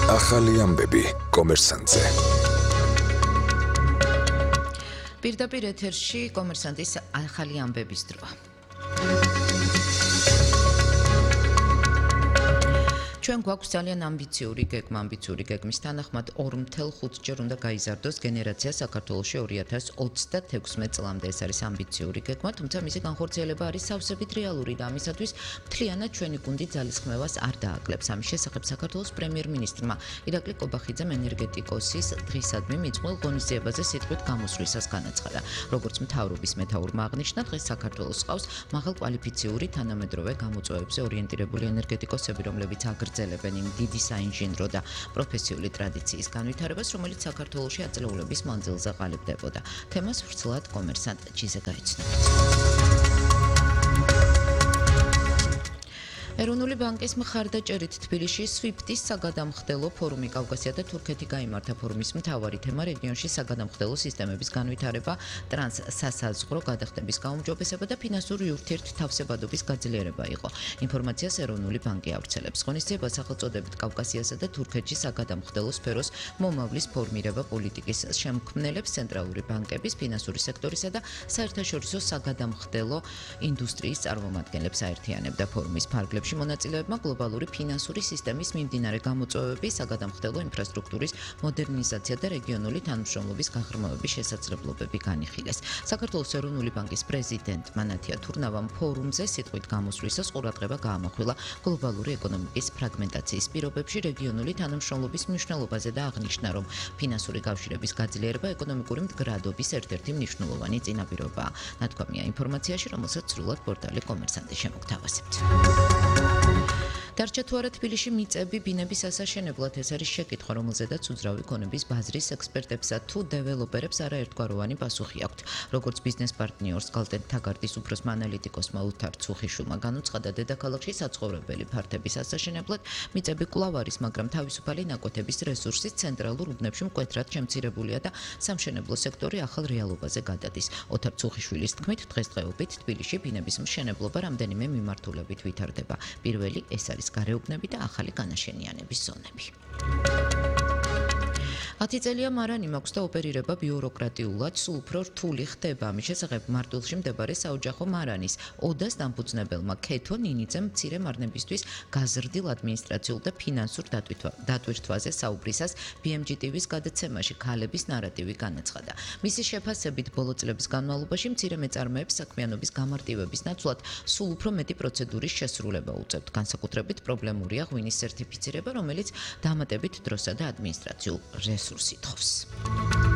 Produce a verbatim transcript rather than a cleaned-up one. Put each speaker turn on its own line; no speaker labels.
ახალი ამბები კომერსანტზე.
პირდაპირ ეთერში კომერსანტის ახალი ამბების დროა. ჩვენ გვაქვს ძალიან ამბიციური გეგმა, ამბიციური გეგმის თანახმად ორ ათას ხუთი ჯერ უნდა გაიზარდოს გენერაცია საქართველოში ორი ათას ოცდათექვსმეტ წლამდე. ეს არის ამბიციური გეგმა, თუმცა მისი განხორციელება არის სავსებით რეალური და ამისათვის მთლიანად ჩვენი გუნდი ძალისხმევას არ დააკლებს. ამის შესახებ საქართველოს პრემიერ-მინისტრმა ირაკლი კობახიძემ ენერგეტიკოსის დღისადმი მიძღვნილ ღონისძიებაზე სიტყვით გამოსვლისას განაცხადა. როგორც მთავრობის მეთაურმა აღნიშნა, დღეს საქართველოს ჰყავს მაღალკვალიფიციური თანამედროვე გამოწვევებზე ორიენტირებული ენერგეტიკოსები, რომლებიც აგრძელებენ ელებენ დიდი საინჟინრო და პროფესიული ტრადიციის განვითარებას, რომელიც საქართველოში ათწლეულების მანძილზე ყალიბდებოდა. თემას ვრცლად კომერსანტ ჯიზე გაიცნობთ. ეროვნული ბანკის მხარდაჭერით თბილისში სვიფტის საგადამხდელო ფორუმი კავკასია და თურქეთი გაიმართა. ფორუმის მთავარი თემა რეგიონში საგადამხდელო სისტემების განვითარება, ტრანსსასაზღვრო გადახდების გაუმჯობესება და ფინანსური ურთიერთთავსებადობის გაძლიერება იყო. ინფორმაციას ეროვნული ბანკი ავრცელებს. ღონისძიება სახელწოდებით კავკასიასა და თურქეთში საგადამხდელო სფეროს მომავლის ფორმირება პოლიტიკის შემქმნელებს, ცენტრალური ბანკების, ფინანსური სექტორისა და საერთაშორისო საგადამხდელო ინდუსტრიის წარმომადგენლებს აერთიანებდა. ფორუმის ფარგლებში მონაწილეებმა გლობალური ფინანსური სისტემის მიმდინარე გამოწვევები, საგადამხდელო ინფრასტრუქტურის მოდერნიზაცია და რეგიონული თანამშრომლობის გაღრმავების შესაძლებლობები განიხილეს. საქართველოს ეროვნული ბანკის პრეზიდენტმა ნათია თურნავამ ფორუმზე სიტყვით გამოსვლისას ყურადღება გაამახვილა გლობალური ეკონომიკის ფრაგმენტაციის პირობებში რეგიონული თანამშრომლობის მნიშვნელობაზე და აღნიშნა, რომ ფინანსური კავშირების გაძლიერება ეკონომიკური მდგრადობის ერთ-ერთი მნიშვნელოვანი წინაპირობაა. ნათქვამია ინფორმაციაში, რომელსაც სრულად პორტალი კომერსანტი შემოგთავაზებთ. დარჩა თუ არა თბილისში მიწები ბინების ასაშენებლად? ეს არის შეკითხვა, რომელზედაც უძრავი ქონების ბაზრის ექსპერტებსა თუ დეველოპერებს არაერთგვაროვანი პასუხი აქვთ. როგორც ბიზნეს პარტნიორს გალტენ თაგარტის უფროსმა ანალიტიკოსმა უთარ ცუხიშვილმა განუცხადა, დედაქალაქში საცხოვრებელი ფართების ასაშენებლად მიწები კვლავ არის, მაგრამ თავისუფალი ნაკვეთების რესურსის ცენტრალურ უბნებში მკვეთრად შემცირებულია და სამშენებლო სექტორი ახალ რეალობაზე გადადის. უთარ ცუხიშვილის თქმით, დღესდღეობით თბილისში ბინების მშენებლობა რამდენიმე მიმართულებით ვითარდება. პირველი ეს არის გარეუბნები და ახალი განაშენიანების ზონები. ათი წელია მარანი მაქვს და ოპერირება ბიუროკრატიულად სულ უფრო რთული ხდება. ამის შესახებ მარტვილში მდებარე საოჯახო მარანის ოდას დამფუძნებელმა ქეთო ნინიძემ მცირე მარნებისთვის გაზრდილ ადმინისტრაციულ და ფინანსურ დატვირთვაზე საუბრისას ბი ემ ჯი ტი ვის გადაცემაში ქალების ნარატივი განაცხადა. მისი შეფასებით ბოლო წლების განმავლობაში მცირე მეწარმეებს საქმიანობის გამარტივების ნაცვლად სულ უფრო მეტი პროცედურის შესრულება უწევთ. განსაკუთრებით პრობლემურია ღვინის სერტიფიცირება, რომელიც დამატებით დროსა და ადმინისტრაციულ რესურსს ითხოვს.